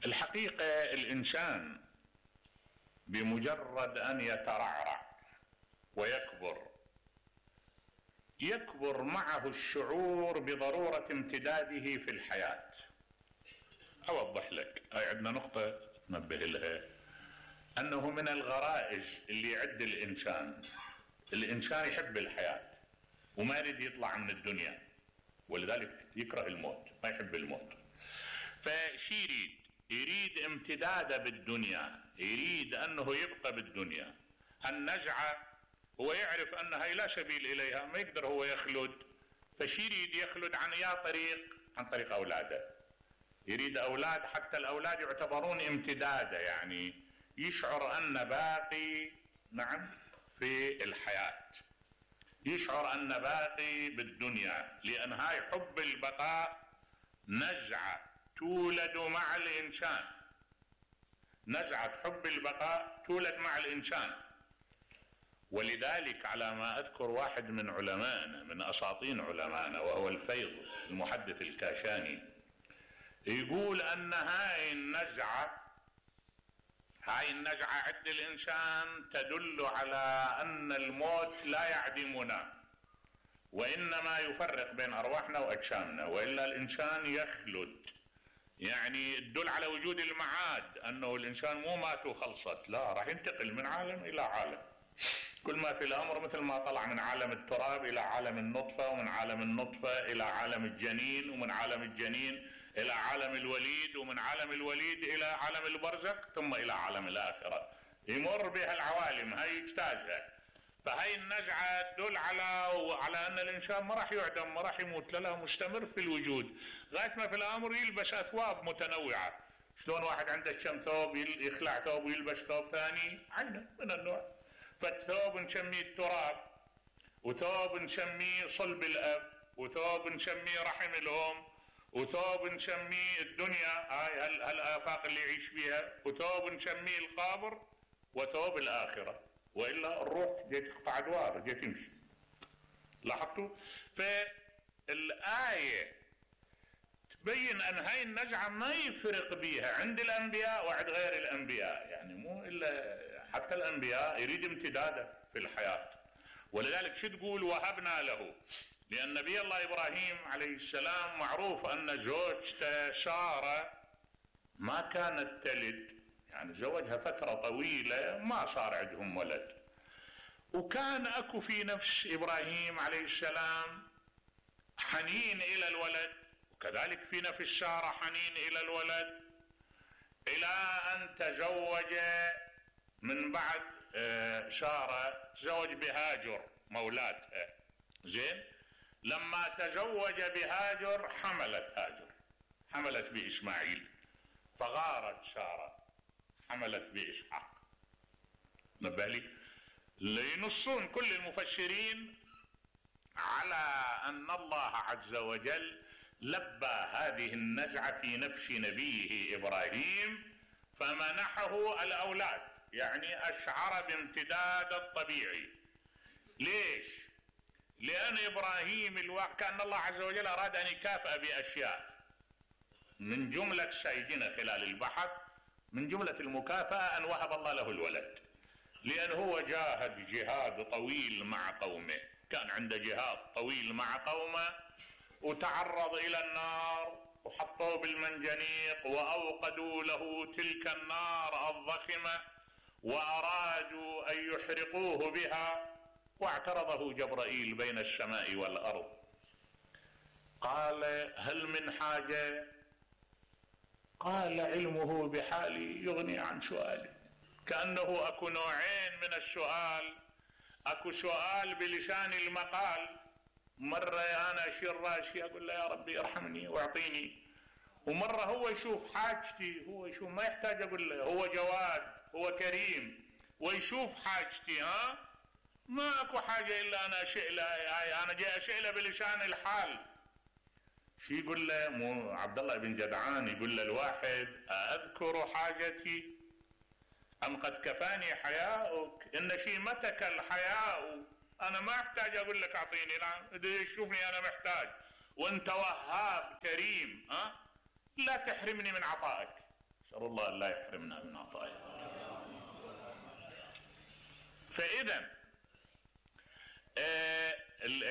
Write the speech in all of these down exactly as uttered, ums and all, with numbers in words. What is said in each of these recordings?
الحقيقة الإنسان بمجرد أن يترعرع ويكبر يكبر معه الشعور بضرورة امتداده في الحياة. أوضح لك، هاي عندنا نقطة ننبه لها، أنه من الغرائز اللي يعد الإنسان الإنسان يحب الحياة وما يريد يطلع من الدنيا، ولذلك يكره الموت، ما يحب الموت. فشي يريد يريد امتداده بالدنيا، يريد أنه يبقى بالدنيا. النزعة هو يعرف أن هاي لا سبيل إليها، ما يقدر هو يخلد، فشي يريد يخلد عن يا طريق عن طريق أولاده. يريد أولاد، حتى الأولاد يعتبرون امتداده، يعني يشعر أن باقي نعم في الحياة، يشعر أن باقي بالدنيا، لأن هاي حب البقاء نزعة تولد مع الإنسان. نزعة حب البقاء تولد مع الإنسان. ولذلك على ما أذكر واحد من علمائنا، من أساطين علمائنا، وهو الفيض المحدث الكاشاني، يقول أن هاي النزعة هاي النزعة عند الإنسان تدل على أن الموت لا يعدمنا، وإنما يفرق بين أرواحنا وأجسامنا، وإلا الإنسان يخلد. يعني تدل على وجود المعاد، أنه الإنسان مو مات وخلصت، لا، راح ينتقل من عالم إلى عالم. كل ما في الأمر مثل ما طلع من عالم التراب إلى عالم النطفة، ومن عالم النطفة إلى عالم الجنين، ومن عالم الجنين إلى عالم الوليد، ومن عالم الوليد إلى عالم البرزخ، ثم إلى عالم الآخرة. يمر بها العوالم، هاي يجتازها. فهاي النزعة تدل على على أن الإنسان ما راح يعدم، ما راح يموت، لا لا، مستمر في الوجود لغاية ما في الأمر يلبس أثواب متنوعة. شلون واحد عنده كم ثوب، يخلع ثوب ويلبس ثوب ثاني، عينه من النوع. فالثوب نسميه التراب، وثوب نسميه صلب الأب، وثوب نسميه رحم الأم، وثوب نسميه الدنيا، هاي هالآفاق اللي يعيش فيها، وثوب نسميه القبر، وثوب الآخرة. وإلا الروح جاي تقطع أدوار، جاي تمشي. لاحظتوا؟ فالآية تبين أن هاي النزعة ما يفرق بيها عند الأنبياء وعند غير الأنبياء، يعني مو إلا حتى الأنبياء يريد امتداده في الحياة. ولذلك شو تقول وهبنا له؟ لأن نبي الله إبراهيم عليه السلام معروف أن زوجته سارة ما كانت تلد، يعني زوجها فترة طويلة ما صار عندهم ولد، وكان أكو في نفس إبراهيم عليه السلام حنين إلى الولد، وكذلك في نفس سارة حنين إلى الولد، إلى أن تزوج من بعد سارة تزوج بهاجر مولاتها. زين، لما تزوج بهاجر حملت هاجر، حملت بإسماعيل، فغارت سارة حملت بإسحاق. نبه لي، لينصون كل المفسرين على أن الله عز وجل لبى هذه النزعة في نفس نبيه إبراهيم فمنحه الأولاد، يعني أشعر بامتداد الطبيعي. ليش؟ لأن إبراهيم الواقع كأن الله عز وجل أراد أن يكافئ بأشياء، من جملة سيدنا خلال البحث، من جملة المكافأة أن وهب الله له الولد، لأن هو جاهد جهاد طويل مع قومه، كان عنده جهاد طويل مع قومه، وتعرض إلى النار وحطوه بالمنجنيق وأوقدوا له تلك النار الضخمة وأرادوا أن يحرقوه بها، واعترضه جبرائيل بين السماء والأرض، قال هل من حاجة؟ قال علمه بحالي يغني عن سؤالي. كأنه أكو نوعين من السؤال، أكو سؤال بلسان المقال، مرة أنا أشير راسي أقول له يا ربي ارحمني واعطيني، ومرة هو يشوف حاجتي، هو يشوف ما يحتاج أقول له، هو جواد، هو كريم ويشوف حاجتي. ها ما أكو حاجة إلا أنا أشئ له، أنا جاي أشئ له بلسان الحال. شي يقول له مو عبد الله بن جدعان يقول له الواحد أذكر حاجتي أم قد كفاني حياؤك؟ إن شيمتك الحياء، أنا ما أحتاج أقول لك أعطيني، لا شوفني أنا محتاج، وأنت وهاب كريم، ها لا تحرمني من عطائك. نسأل الله أن لا يحرمنا من عطائه. فإذا آه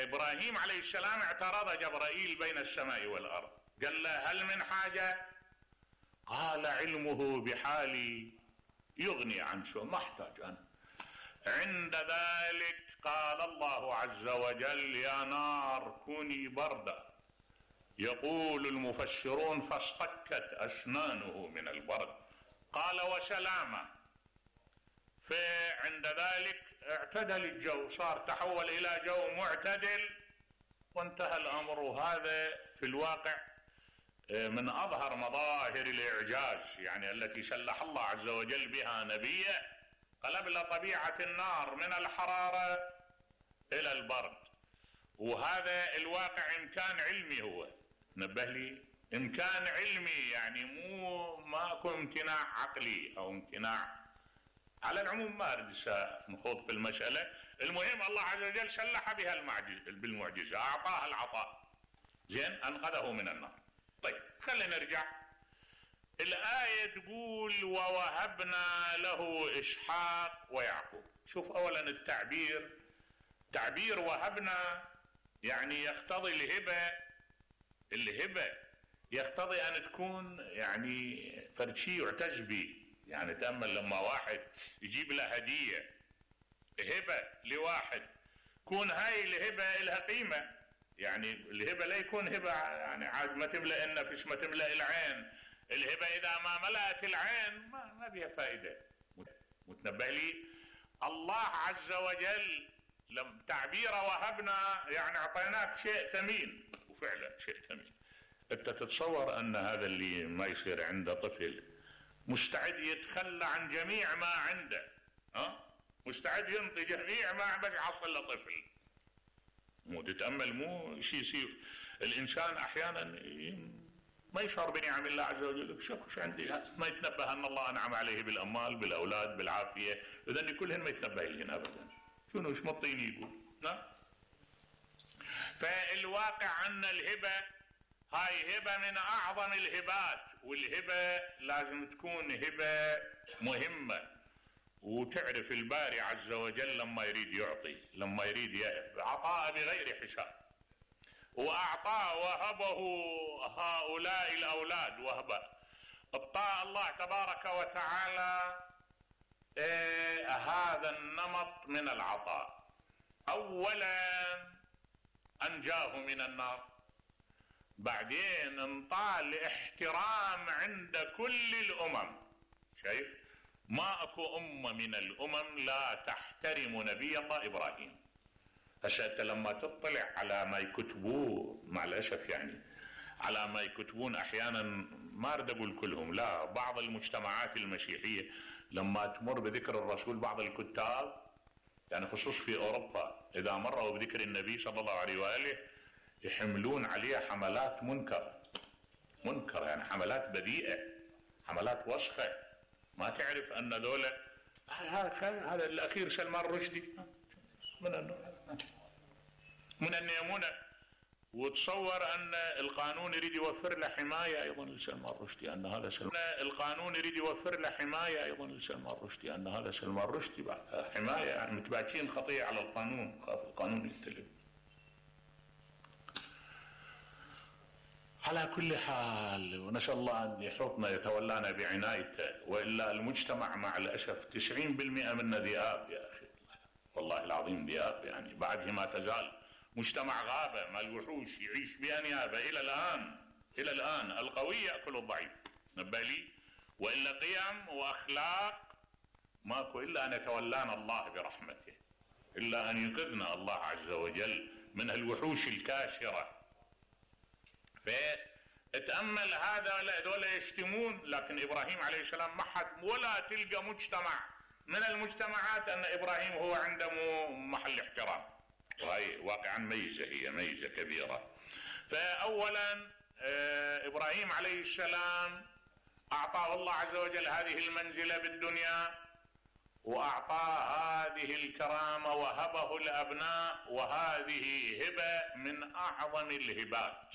إبراهيم عليه السلام اعترض جبرائيل بين السماء والأرض، قال له هل من حاجة؟ قال علمه بحالي يغني عن شو، ما احتاج أنا. عند ذلك قال الله عز وجل يا نار كوني بردا. يقول المفسرون فاصطكت أسنانه من البرد، قال وسلامة. فعند ذلك اعتدل الجو، صار تحول إلى جو معتدل وانتهى الأمر. وهذا في الواقع من أظهر مظاهر الإعجاز يعني التي سلح الله عز وجل بها نبيه، قلب طبيعة النار من الحرارة إلى البرد. وهذا الواقع إمكان علمي، هو نبه لي إمكان علمي، يعني مو ماكو امتناع عقلي أو امتناع. على العموم ما أريد نخوض في المسألة، المهم الله عز وجل سلح بها بالمعجزة، أعطاها العطاء، زين أنقذه من النار. طيب خلينا نرجع. الآية تقول ووهبنا له إسحاق ويعقوب. شوف أولا التعبير، تعبير وهبنا يعني يقتضي الهبة. الهبة يقتضي أن تكون يعني فرد شيء يعتز به. يعني تأمل لما واحد يجيب له هدية هبة لواحد، كون هاي الهبة لها قيمة. يعني الهبة لا يكون هبة يعني عاد ما تملأ النفس ما تملأ العين. الهبة إذا ما ملأت العين ما, ما بها فائدة. متنبه لي الله عز وجل لم تعبيره وهبنا يعني أعطيناك شيء ثمين، وفعلا شيء ثمين. أنت تتصور أن هذا اللي ما يصير عنده طفل مستعد يتخلى عن جميع ما عنده، ها؟ مستعد ينطي جميع ما بس يحصل له طفل. مو تتأمل مو شيء يصير. الإنسان أحيانا ما يشعر بنعم الله عز وجل، شوف شو عندي، ما يتنبه أن الله أنعم عليه بالأموال بالأولاد بالعافية، إذن كلهن ما يتنبه لهن أبدا. شنو ايش مطيني يقول؟ نعم. فالواقع أن الهبة هاي هبة من أعظم الهبات، والهبة لازم تكون هبة مهمة. وتعرف الباري عز وجل لما يريد يعطي، لما يريد يهب عطاء بغير حساب. وأعطاه وهبه هؤلاء الأولاد وهبة. ابطاء الله تبارك وتعالى إيه هذا النمط من العطاء. أولا أنجاه من النار، بعدين انطاه الاحترام عند كل الأمم. شايف ما اكو أمة من الأمم لا تحترم نبي الله إبراهيم. هسه انت لما تطلع على ما يكتبوه مع الأسف يعني على ما يكتبون أحيانا، ما أريد أقول كلهم، لا، بعض المجتمعات المسيحية لما تمر بذكر الرسول بعض الكتاب يعني خصوص في أوروبا إذا مروا بذكر النبي صلى الله عليه وآله يحملون عليه حملات منكر منكر يعني حملات بذيئة، حملات وسخة. ما تعرف أن ذولا هذا الأخير سلمان رشدي من من النيمونة، وتصور أن القانون يريد يوفر له حماية أيضا لسلمان رشدي، أن هذا سلمان القانون يريد يوفر له حماية أيضا لسلمان رشدي، أن هذا سلمان رشدي بعد حماية، يعني متباكين خطية على القانون، خاف القانون يستلم. على كل حال ونسأل الله أن يحوطنا يتولانا بعنايته، وإلا المجتمع مع الأسف تسعين بالمئة منه ذئاب يا أخي، والله العظيم ذئاب. يعني بعده ما تزال مجتمع غابة مال الوحوش يعيش بأنيابه إلى الآن. إلى الآن القوي يأكل الضعيف، نبالي. وإلا قيم وأخلاق ماكو إلا أن يتولانا الله برحمته، إلا أن ينقذنا الله عز وجل من الوحوش الكاشرة. فتأمل هذا هذول يشتمون، لكن إبراهيم عليه السلام ما حد ولا تلقى مجتمع من المجتمعات أن إبراهيم هو عنده محل احترام، وهي واقعا ميزة، هي ميزة كبيرة. فأولا إبراهيم عليه السلام أعطاه الله عز وجل هذه المنزلة بالدنيا، وأعطاه هذه الكرامة وهبه الأبناء، وهذه هبة من أعظم الهبات.